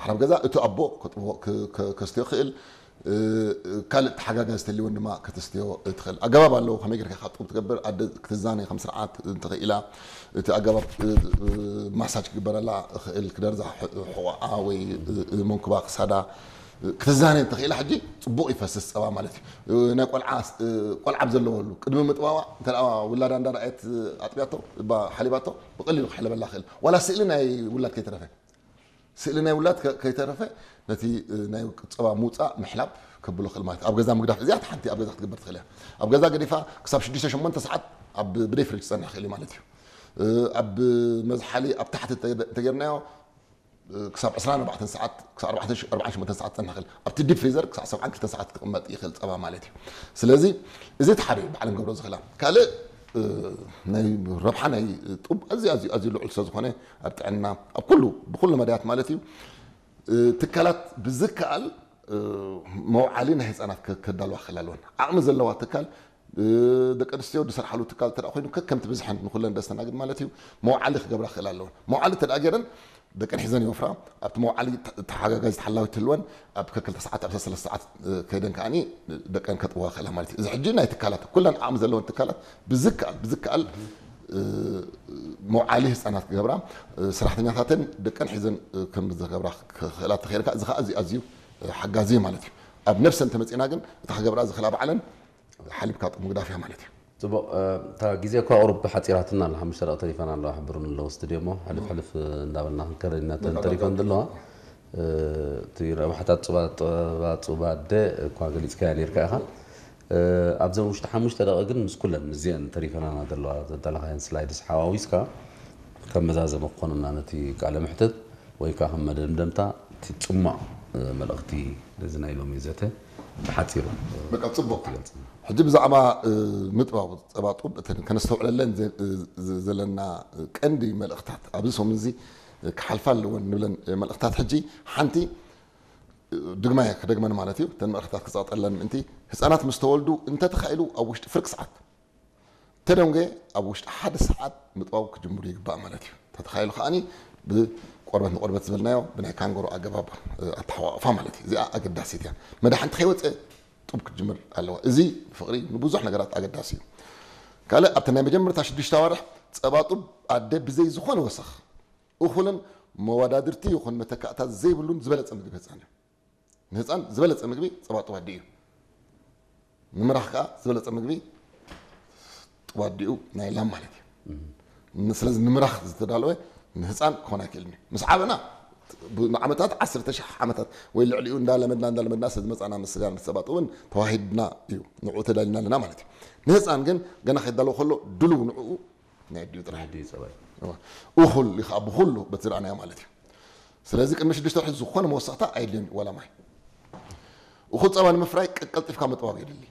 ሓራብ ገዛ እቲ ኣቦ ከጥብዎ፣ ክ-፣ ከ-፣ ከስትዮ ክእል፣ እ፣ ካልእ ተሓጋጋዚ ተልይወን ድማ ከተስትዮ ትኽእል። ኣገባብ ኣለዎ፣ ከመይ ጌርካ ካብ ጡብ ትገብር፣ ኣደ ክትዛነ ከም ስርዓት እንተኽኢላ፣ እቲ ኣገባብ፣ እ፣ እ፣ ማሳጅ ክግበረላ እኽእል፣ ክደርዛ ሕ-፣ ሕቖኣ ወይ፣ እ፣ እ፣ መንኩባ ክሳዳ፣ እ፣ ክትዛነ እንተኽኢላ፣ ሕጂ ጽቡቕ ይፈስስ ጸባ ማለት እዩ። እ፣ ናይ ቆልዓ፣ እ፣ ቆልዓ ኣብ ዘለወሉ፣ ቅድሚ ምጥባዋ፣ እንተ ደኣ ውላዳ እንዳ ረኣየት፣ እ፣ ኣጥብያቶ፣ እባ ሓሊባቶ፣ ብቐሊሉ ክሕለበላ ክእል። ዋላ ስእሊ ናይ ውላድ ከይተረፈ። ስእሊ ናይ ውላድ ከ-፣ ከይተረፈ ነቲ፣ እ፣ ናይ ጸባ ምውጻእ ምሕላብ ከብሎ ክእል ማለት እዩ። ኣብ ገዛ ምግዳፍ፣ እዚኣ ሓንቲ ኣብ ገዛ ክትግበር ትኽእል እያ። ኣብ ገዛ ገዲፋ ክሳብ ሽዱሽተ ሸሞንተ ሰዓት ኣብ ብደይ ፍሪጅ ክጸንሕ ክእል እዩ ማለት እዩ። እ፣ ኣብ መዝሓሊ ኣብ ታሕቲ እንተ-፣ እንተጌርናዮ፣ እ፣ ክሳብ ዕስራን ኣርባዕተን ሰዓት፣ ክሳብ ኣርባዕተ፣ ኣርባዓን ሸሞንተን ሰዓት ክጸንሕ ክእል። ኣብቲ ዲፕ ፍሪዘር ክሳብ ሰብዓን ክልተን ሰዓት ክቕመጥ ይኽእል ጸባ ማለት እዩ። ስለዚ እዚ እቲ ሓደ እዩ ብዓለም ገብሮ ዝኽእላ። ካልእ፣ እ፣ ናይ ረብሓ ናይ ጡብ ኣዝዩ፣ ኣዝዩ፣ ኣዝዩ ልዑል ስለ ዝኾነ ኣብ ጥዕና፣ ኣብ ኩሉ፣ ብኩሉ መዳያት ማለት እዩ። እ፣ ትካላት ብዝከኣል፣ እ፣ መውዓሊ ናይ ህፃናት ከ-፣ ከዳልዋ ክኽእል ኣለወን። ዓቕሚ ዘለዋ ትካል፣ እ፣ ደቂ ኣንስትዮ ዝሰርሓሉ ትካል እንተ ደኣ ኮይኑ ከከምቲ ብዝሐን ንኹለን ደስተናግድ ማለት እዩ፣ መውዓሊ ክገብራ ክኽእል ኣለወን። መውዓሊ እንተ ደኣ ገይረን ደቀን ሒዘን ይወፍራ። ኣብቲ መውዓሊ ተ-፣ ተሓጋጋዚት ሓላዊት ትህልወን፣ ኣብ ከክልተ ሰዓት፣ ኣብ ሰለስተ ሰዓት፣ እ፣ ከይደን ከኣኒ ደቀን ከጥብዋ ክኽእላ ማለት እዩ። እዚ ሕጂ ናይ ትካላት፣ ኩለን ዓቕሚ ዘለወን ትካላት ብዝከኣል፣ ብዝከኣል፣ እ፣ መውዓሊ ህፃናት ክገብራ፣ እ፣ ሰራሕተኛታተን ደቀን ሒዘን፣ እ፣ ከም ዝገብራ ክኽእላ ተኸኢልካ፣ እዚ ኸዓ ኣዝዩ፣ ኣዝዩ፣ እ፣ ሓጋዚ እዩ ማለት እዩ። ኣብ ነብሰን ተመፂና ግን፣ እታ ክገብራ ዝኽእላ ባዕለን ሓሊብካ ጡብ ምግዳፍ እያ ማለት እዩ። ጽቡቕ፣ እ፣ እታ ግዜ እኳ ቁሩብ ሓጺራትና ኣላ፣ ሓሙሽተ ደቂቕ ተሪፈና ኣለዋ፣ ሕብሩን ኣለዎ ስቱድዮ እሞ፣ ሕልፍ ሕልፍ እንዳበልና ክንከድ ኢና፣ እተን በቃ፣ ተሪፈን በቃ። ዘለዋ፣ እ፣ እቲ ረብሓታት ጹባ-፣ ጸባ ጹባ ኣደ እኳ ገሊጽካያ ነይርካ ኢኻ። እ፣ ኣብዘን ውሽጢ ሓሙሽተ ደቂቕ ግን ምስ ኩለን፣ ምስዚአን ተሪፈናና ዘለዋ፣ ዘዳለኻየን ስላይድስ ሓዋዊስካ፣ ከም መዛዘሚ ክኾኑና ነቲ ቃለ መሕትት፣ ወይ ከኣ ከም መደምደምታ፣ እቲ ጽማቕ፣ እ፣ መልእኽቲ ነዚ ናይ ሎሚ ዘተ ብሓጺሩ፣ እ፣ በቃ፣ ጽቡቕ። ትገልጽ። ሕጂ ብዛዕባ፣ እ፣ ምጥባው ጸባ ጡብ እተን ከነስተውዕለለን ዘ-፣ እ፣ ዘ-፣ ዘለና ቀንዲ መልእኽታት ኣብዚ ሰሙን እዚ ክሓልፋ ኣለወን ንብለን መልእኽታት፣ ሕጂ ሓንቲ፣ እ፣ ድግማየ ክደግመን ማለት እዩ። እተን መልእኽታት ክጸቕጠለን ምእንቲ፣ ህጻናት ምስ ተወልዱ እንተተኻኢሉ ኣብ ውሽጢ ፍርቂ ሰዓት ተደንጎ ኣብ ውሽጢ ሓደ ሰዓት ምጥባው ክጅምሩ ይግባእ ማለት እዩ። ተተኻኢሉ ከኣኒ ብቆርበት ንቆርበት ዝበልናዮ ብናይ ካንጎሮ ኣገባብ፣ እ፣ ኣተሓቋቑፋ ማለት እዩ። እዚኣ ኣገዳሲት እያ። መድሓንቲ ከይወፀ ጡብ ክትጅምር ኣለዋ። እዚ ፍቕሪ ንብዙሕ ነገራት ኣገዳሲ እዩ። ካልእ ኣብቲ ናይ መጀመርታ ሽዱሽተ ኣዋርሕ ጸባ ጡብ ኣደ ብዘይ ዝኾነ ወሰኽ፣ እኹልን መወዳድርቲ ይኹን መተካእታ ዘይብሉን ዝበለጸ ምግቢ ህፃን እዩ። ንህፃን ዝበለፀ ምግቢ ጸባ ጡብ ኣዲኡ እዩ። ንምራኽ ከዓ ዝበለፀ ምግቢ ጡብ ኣዲኡ ናይ ላም ማለት እዩ። ን-፣ ስለዚ ንምራኽ ዝተዳለወ ንህፃን ክኾን ኣይክእልን እዩ። ምስ ዓበና ብ-፣ ንዓመታት፣ ዓሰርተ ሺሕ ዓመታት ወይ ልዕሊኡ እንዳለመድና፣ እንዳለመድና ስለ ዝመፃና ምስ ስጋን ምስ ጸባ ጡብን ተዋሂድና እዩ። ንዕኡ ተዳሊና ኣለና ማለት እዩ። ንህፃን ግን ገና ከይዳለዎ ከሎ ድልው ንዕኡ ናይ ኣዲኡ ጥራሕ። ናይ ኣዲኡ ጸባ እዩ። እወ። እኹል እዩ ከዓ ብኹሉ በቲ ዝረኣናዮ ማለት እዩ። ስለዚ ቅድሚ ሽዱሽተ ወርሒ ዝኾነ መወሰኽታ ኣየድልዮን እዩ፣ ዋላ ማይ። እኹል ጸባ ንምፍራይ ቀ-፣ ቀልጢፍካ ምጥባው የድሊ።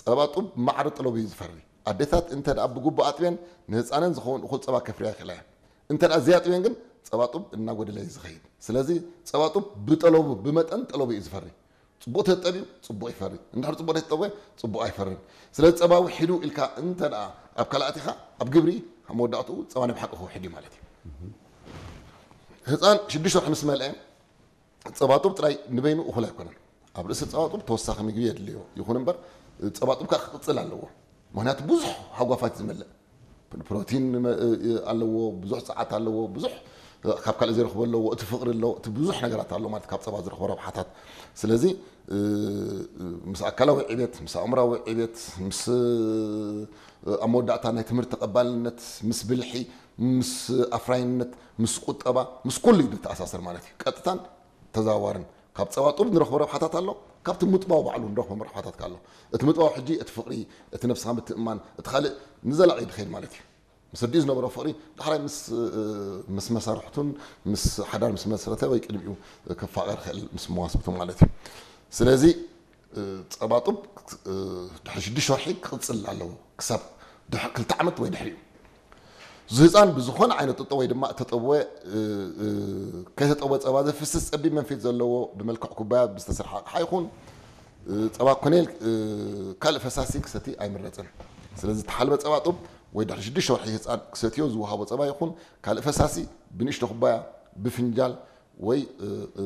ጸባ ጡብ ማዕረ ጠለቡ እዩ ዝፈሪ። ኣዴታት እንተ ደኣ ብግቡእ ኣጥብየን ንህፃነን ዝኸውን እኹል ጸባ ከፍርያ ይኽእላ እየን። እንተ ደኣ ዘያጥብየን ግን ጸባ ጡብ እናጎደለ እዩ ዝኸይድ። ስለዚ ጸባ ጡብ ብጠለቡ፣ ብመጠን ጠለቡ እዩ ዝፈሪ። ጽቡቕ ተጠብዩ ጽቡቕ ይፈሪ። እንድሕር ጽቡቕ ዘይተጠብወ ጽቡቕ ኣይፈርን። ስለዚ ጸባ ውሒዱ ኢልካ እንተ ደኣ ኣብ ካልኣት ኢኻ፣ ኣብ ግብሪ ኣብ መወዳእትኡ ጸባ ናይ ብሓቂ ክውሕድ እዩ ማለት እዩ። ህፃን ሽዱሽተ ወርሒ ምስ መልአ ጸባ ጡብ ጥራይ ንበይኑ እኹል ኣይኮነን። ኣብ ርእሲ ጸባ ጡብ ተወሳኺ ምግቢ የድልዮ። ይኹን እምበር ጸባ ጡብ ከኣ ክቕጽል ኣለዎ። ምኽንያቱ ብዙሕ ሃጓፋት ዝመልእ ፕ-፣ ፕሮቲን መ-፣ እ-፣ እ-፣ ኣለዎ፣ ብዙሕ ጸዓት ኣለዎ፣ ብዙሕ፣ እ፣ ካብ ካልእ ዘይረኽቦ ኣለዎ፣ እቲ ፍቕሪ ኣለዎ፣ እቲ ብዙሕ ነገራት ኣሎ ማለት ካብ ጸባ ዝረኽቦ ረብሓታት። ስለዚ፣ እ፣ እ፣ ምስ ኣካላዊ ዕቤት፣ ምስ ኣእምራዊ ዕቤት፣ ምስ፣ እ፣ ኣብ መወዳእታ ናይ ትምህርቲ ተቐባልነት፣ ምስ ብልሒ፣ ምስ ኣፍራይነት፣ ምስ ቁጠባ፣ ምስ ኩሉ እዩ ዝተኣሳሰር ማለት እዩ። ቀጥታን ተዘዋዋርን ካብ ጸባ ጡብ ንረኽቦ ረብሓታት ኣሎ፣ ካብቲ ምጥባው ባዕሉ ንረኽቦም ረብሓታት ከ ኣሎ። እቲ ምጥባው ሕጂ እቲ ፍቕሪ፣ እቲ ነብስኻ ምትእምማን፣ እቲ ካልእ ንዘላቒ ድኸይድ ማለት እዩ። ምስ ኣዲኡ ዝነበሮ ፍቕሪ ዳሕራይ ምስ፣ እ፣ ምስ መሳርሕቱን ምስ ሓዳር ምስ መስረተ ወይ ቅድሚኡ ክፋቐር ክእል ምስ መዋስብቱ ማለት እዩ። ስለዚ፣ እ፣ ጸባ ጡብ፣ እ፣ ድሕሪ ሽዱሽተ ወርሒ ክቕጽል ኣለዎ፣ ክሳብ ድሕ-፣ ክልተ ዓመት ወይ ድሕሪኡ። እዚ ህጻን ብዝኾነ ዓይነት ጥጦ ወይ ድማ እተጠብወ፣ እ፣ እ፣ ከይተጠብወ ጸባ ዘፍስስ ጸቢብ መንፊት ዘለዎ ብመልክዕ ኩባያ ብዝተሰርሐ ኣቕሓ ይኹን፣ እ፣ ጸባ ኮነ ኢል፣ እ፣ ካልእ ፈሳሲ ክሰቲ ኣይምረጽን። ስለዚ እተሓልበ ጸባ ጡብ ወይ ድሕሪ ሽዱሽተ ወርሒ ህጻን ክሰትዮ ዝወሃቦ ጸባ ይኹን ካልእ ፈሳሲ ብንእሽቶ ኩባያ፣ ብፍንጃል ወይ፣ እ፣ እ፣